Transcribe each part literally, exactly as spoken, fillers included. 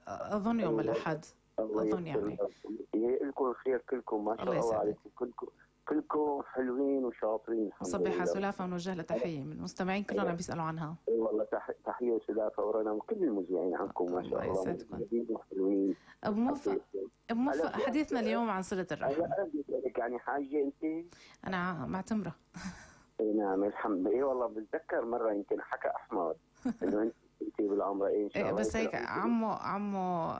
أظن يوم الأحد. أظن يعني لكم الخير كلكم ما شاء الله, الله عليكم كلكم كلكم حلوين وشاطرين. صبيحة سلافة ونوجه لها تحية من المستمعين كلهم عم بيسألوا عنها. والله تحية سلافة ورنا وكل المذيعين عنكم ما شاء الله حلوين. أبو موفق أبو موفق حديثنا اليوم عن صلة الرحم. أنا أردت لك يعني حاجة أنت. أنا معتمرة. نعم الحمد لله. والله بتذكر مرة يمكن حكى أحمد إنه أنت انت بالعمرة إيه, إيه بس هيك عمو عمو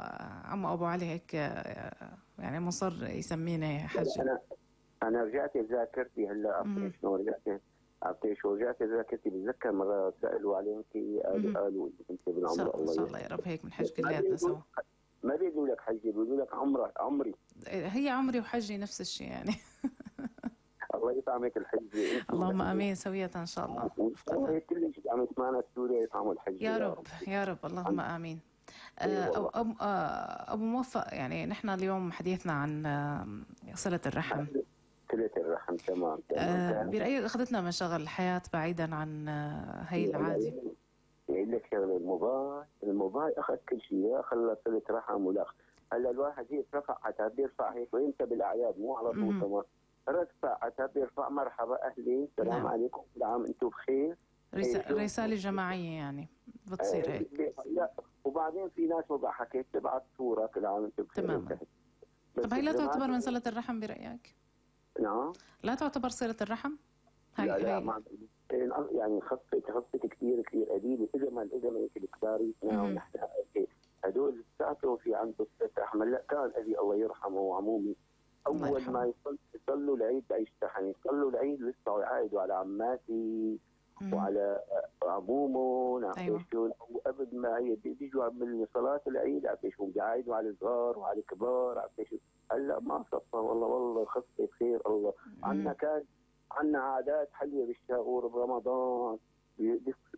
عمو أبو علي هيك يعني مصر يسميني حج. أنا أنا رجعت ذاكرتي هلا عرفتي شنو رجعت عرفتي شو رجعت ذاكرتي بتذكر مرة سألوا عليك قالوا قالوا أنت بالعمرة. الله إن شاء الله يا رب هيك من حج كلياتنا سوا. ما بيقولوا لك حجي بيقولوا لك عمرة عمري. هي عمري وحجي نفس الشيء يعني. الله يطعمك الحج. اللهم امين سوية ان شاء الله. والله كل شيء عم يسمعنا سوريا يطعموا الحج يا رب يا رب اللهم امين. أبو, أبو موفق يعني نحن اليوم حديثنا عن صلة الرحم. صلة الرحم تمام. تمام. برأيك أخذتنا من شغل الحياة بعيدا عن هي العادة؟ يقول لك شغله الموبايل الموبايل أخذ كل شيء لا خلى صلة رحم ولا. هلا الواحد هيك رفع حتى بيرفع هيك وانت بالأعياد مو على طول تمام. رفع حتى بيرفع مرحبا أهلين السلام نعم. عليكم كل عام أنتم بخير. رسالة جماعية يعني بتصير هيك. لا وبعدين في ناس ما حكيت تبعت صورة كل عام أنتم بخير. تماما. طب هي لا تعتبر من صلة الرحم برأيك؟ نعم. لا تعتبر صلة الرحم؟ هاي لا لا ما يعني خصت خصت كثير كثير قديمة إذا ما إذا ما الكباري نحن هدول ساعتهم في عنده صلة رحم. لا كان أبي الله يرحمه وعمومي أول ما يصل يصلوا العيد يشتحن يصلوا العيد لسه يعايدوا على عماتي مم. وعلى عمومهم أيوة. وقبل ما بيجوا من صلاة العيد عرفتي بيعايدوا على الصغار وعلى الكبار عرفتي هلا ما صفى والله والله خصت خير الله. عندنا كان عندنا عادات حلوة بالشهور برمضان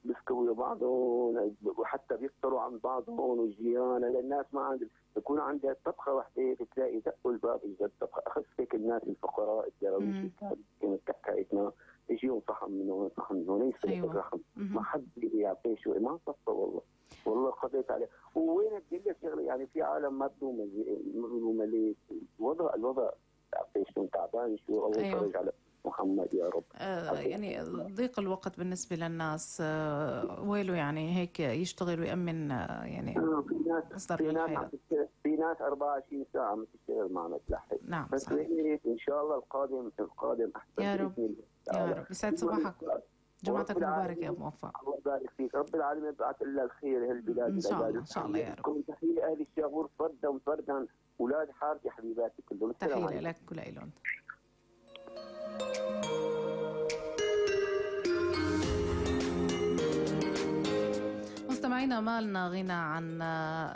بيسكوا بعضهم وحتى بيفطروا عن بعضهم والجيران. للناس ما عند يكون عندها طبخة واحدة بتلاقي دقوا الباب يجد طبخة أخذتك الناس الفقراء الدراويش كانت تحكيتنا يجيهم صحن من هون صحن من هون يصير أيوة. الرحم ما حد يعطيه شو ما صفى والله والله قضيت عليه. ووين بدي لك شغله يعني في عالم ما بدهم مروا مليك الوضع الوضع يعطيه شو تعبان شو الله يفرج أيوة. على محمد يا رب. آه يعني ضيق الوقت بالنسبة للناس آه ويله يعني هيك يشتغل ويأمن آه يعني آه في ناس في ناس في ناس أربعة وعشرين ساعة عم تشتغل معنا تلحق. نعم بس إن شاء الله القادم القادم أحسن يا رب يا رب. يسعد صباحك جمعتك مبارك يا أبو موفق. الله يبارك فيك. رب العالمين يبعث لنا الخير هالبلاد إن شاء الله إن شاء الله يا رب. كل تحية أهل الشاغور فردا فردا أولاد حارتي حبيباتي كلهم. تحية لك ولإلهم. مستمعينا ما لنا غنى عن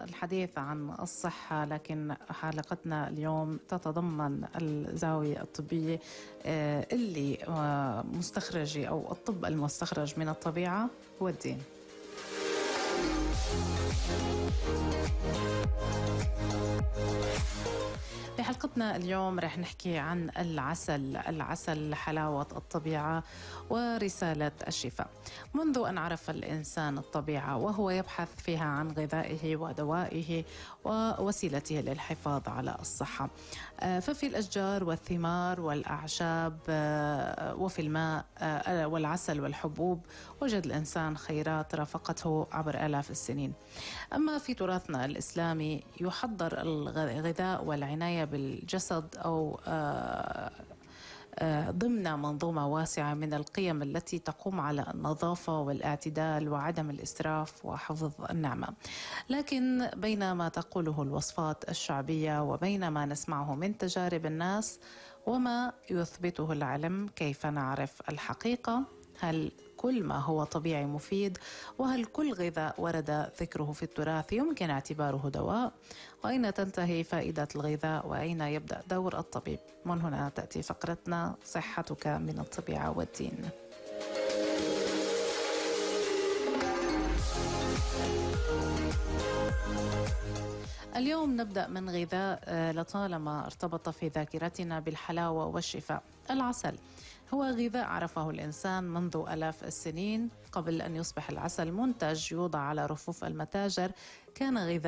الحديث عن الصحة لكن حلقتنا اليوم تتضمن الزاوية الطبية اللي مستخرجة أو الطب المستخرج من الطبيعة والدين. في حلقتنا اليوم رح نحكي عن العسل العسل حلاوة الطبيعة ورسالة الشفاء. منذ أن عرف الإنسان الطبيعة وهو يبحث فيها عن غذائه ودوائه ووسيلته للحفاظ على الصحة، ففي الأشجار والثمار والأعشاب وفي الماء والعسل والحبوب وجد الإنسان خيرات رافقته عبر آلاف السنين. أما في تراثنا الإسلامي يحضر الغذاء والعناية بالجسد أو ضمن منظومة واسعة من القيم التي تقوم على النظافة والاعتدال وعدم الإسراف وحفظ النعمة. لكن بين ما تقوله الوصفات الشعبية وبين ما نسمعه من تجارب الناس وما يثبته العلم، كيف نعرف الحقيقة؟ هل كل ما هو طبيعي مفيد؟ وهل كل غذاء ورد ذكره في التراث يمكن اعتباره دواء؟ وأين تنتهي فائدة الغذاء وأين يبدأ دور الطبيب؟ من هنا تأتي فقرتنا صحتك من الطبيعة والدين. اليوم نبدأ من غذاء لطالما ارتبط في ذاكرتنا بالحلاوة والشفاء. العسل هو غذاء عرفه الإنسان منذ آلاف السنين. قبل أن يصبح العسل منتج يوضع على رفوف المتاجر كان غذاء